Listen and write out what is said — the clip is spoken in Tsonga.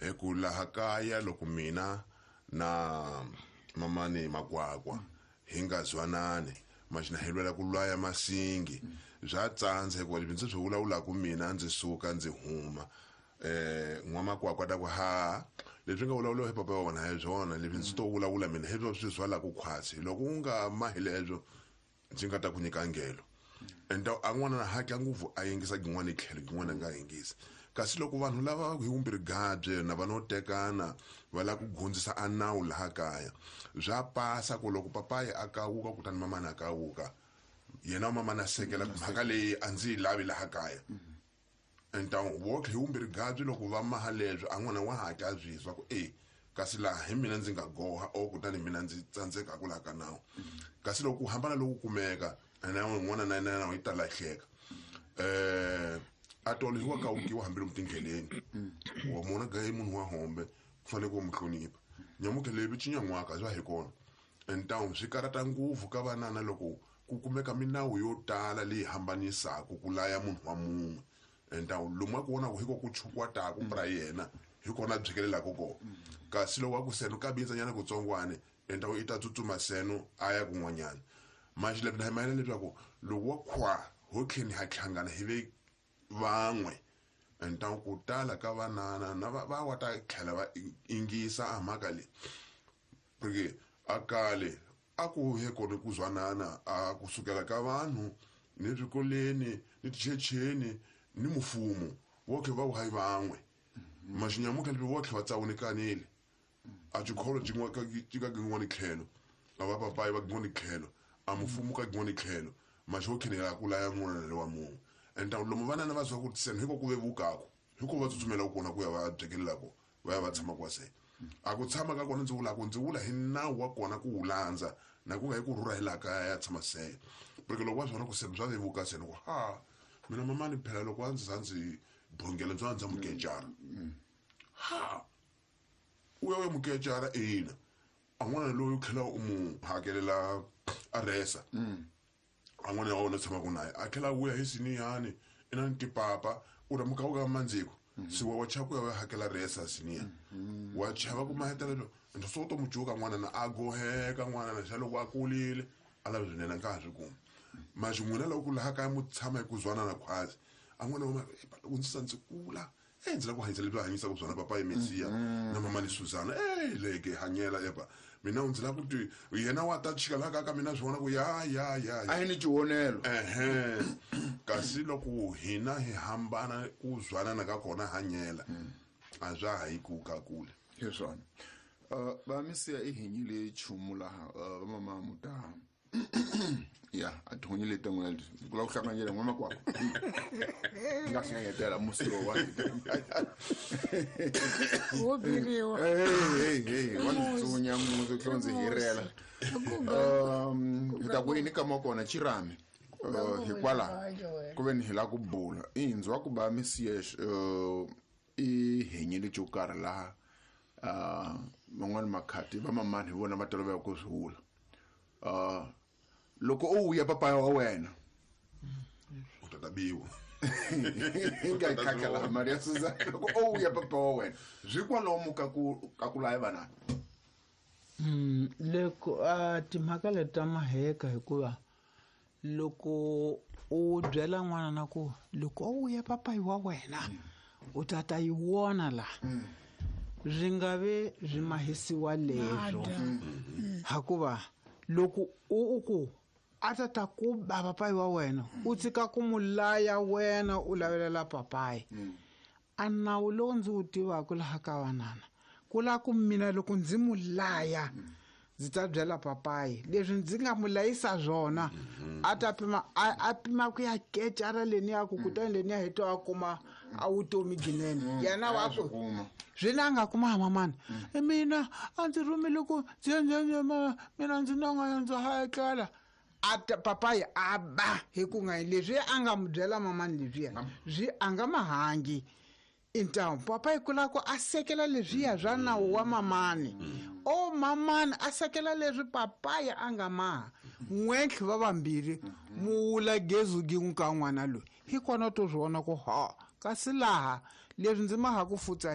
Hi ku laha kaya loko mina na mamani Makwakwa hi nga zwanani, maxina hi lwela ku lwaya masingi. Bya tsandza hikuva leswi ndzi swi vulavulaka mina ndzi suka ndzi huma. N'wamakwakwa ta ku ha leswi nga vulavuriwa hi papa wa wena hi byona, leswi ndzi to vulavula mina hi swona swi zwalaka khwatsi. Loko u nga mahi leswo ndzi nga ta ku nyika ngelo. Ende a n'wana na hatla ngopfu a yingisa gin'wana tlhelo gin'wana a nga yingisi. Kasi loko vanhu lava hi vumbirhi gabye na va no tekana va lava ku gundzisa a nawu laha kaya, bya pasa ku loko papayi a kawuka kutani mamana a kawuka, yena mamana a sekela mhaka leyi a ndzi yi lavi laha kaya. Enta votlhe hi vumbirhi gabye loko va maha leswo a n'wana wa hatla a byi twa ku e kasi laha hi mina ndzi nga goha o kutani mina ndzi tsandzeka ku laha ka nawu. Kasi loko ku hambana loku kumeka na n'wana na yena yi ta lahleka. A tolo hi wa kawukiwa hambi lomu tindleleni. Wa mona ga i munhu wa hombe ku fanele ku mu hlonipha. Nyamutlha leyi vi cinyan'waka bya hi kona. Enta swi karata ngopfu ka vanana loko ku kumeka minawu yo tala leyi hambanisaka ku laya munhu wa mun'we. Enta lomu a ku vonaka hi ko ku chukwataka pra yena hi kona byikelelaka kona. Kasi loko a ku seno ka bindzanyana kutsongwane, enta i ta tsutsuma seno a ya kun'wanyana. Manje lebyi hi mayelana leswaku loko wa khwa ho tlheni ha hlangana hi ve van'we, enta ku tala ka vanana na va wa ta tlhela va ingisa a mhaka leyi. Porque a kale a ku he kona ku zwanana a kusukela ka vanhu ni swikoleni ni tichecheni ni mfumo votlhe va hayi van'we. Maxinyamutlha leswi votlhe va tsawunikanile. A xikholo xi ka xi ka gin'wana tlhelo, a va papayi va gin'wana tlhelo, a mfumo ka gin'wana tlhelo, maxi wo khenela ku laya n'wana lowa mun'we. Enta lomu vanana va zwa ku seni hiko ku vevukaka, hiko va tsutsumela kona ku ya va byekelelako, va ya va tshama kwa se. A ku tshama ka kona ndzi vula ku ndzi vula hi nawu wa kona ku wu landza, na ku nga hi ku rhurha hi laha kaya ya tshama se. Porque loko va swi vona ku seni swa vevuka seni ku ha mina mamani phela loko a ndzi za ndzi bongela ndzi va ndza mukecara. Ha u ya u ya mukecara ina. A n'wana loyi u tlhela u mu hakelela a resa. A n'wana wa wena u tshamaka na yena a tlhela a vuya hi siniyani i na ni tipapa u ta muka u ka mandziko. Se wa chava ku ya u ya hakela resa siniya. Wa chava ku mahetelelo ende so u to mu cuka n'wana na a goheka n'wana na xa loko a kulile a lava swinene a nga ha swi kumi. Maxi n'wina loko ku laha kaya mu tshama hi ku zwanana khwazi a n'wana wa loko ndzi sa ndzi kula ndzi lava ku hanyisa leswi va hanyisaka swona papa Mesiya na mama ni Suzana. Leke hanyela epa mina ndzi lava ku ti yena wa ta chika laha ka mina swi vona ku ya ya ya. A hi ni xivonelo. Kasi loko hina hi hambana ku zwanana ka kona hanyela a swa ha yi ku ka kule. Hi swona. Va Mesiya i hinyile nchumu laha va mama muta. Ya, a ti honile ta n'wina leswi. Ku lava ku hlanganyela n'wana makwavo. Nga hlanganyetela musi lowu wa hina. Wo biriwa. Hey, hey, hey, wa ndzi tsunya musi, u tlhela ndzi hirela. Hi ta ku yini ka makona Chirami? Hikwalaho ku ve ni hi lava ku bula. I ndzi wa ku ba Mesiya, i henyile xo karhi laha, van'wani makhati va mamani hi vona va tolovela ku swi vula. Loko u vuya papaya wa wena u ta ta biwa. Hi nga yi khakha laha Maria Suzana. Loko u vuya papa wa wena swi kwalomu ka ku ka ku laya vana. Loko a timhaka leti ta maheka hikuva loko u byela n'wana na ku loko u vuya papayi wa wena u ta ta yi vona la. Swi nga ve swi mahisiwa leswo. Hikuva loko u ku a ta ta ku ba papayi wa wena u tshika ku mu laya wena u lavelela papayi. A nawu lowu ndzi wu tivaka laha ka vanana ku lava ku mina loko ndzi mu laya ndzi ta byela papayi leswi ndzi nga mu layisa swona a ta pima a pima ku ya kecara leni ya ku kutani leni ya heta a kuma a vutomi byinene. Yena wa A swi ku kuma. swi na nga kuma mamani. Mina a ndzi rhumile ku ndzi ya, ndzi ya, ndzi ya, mama, mina ndzi na nga ndzi ha etlela. A ta papayi a ba hi ku nga leswi a nga mu byela mamani leswiya swi a nga mahangi. Intawu papayi ku lava ku a sekela leswiya swa nawu wa mamani. O mamani a sekela leswi papayi a nga maha. N'wentlhe va vambirhi mu wula gezu gin'we ka n'wana loyi. Hi kona to swi vona ku ha kasi laha leswi ndzi maha ku futsa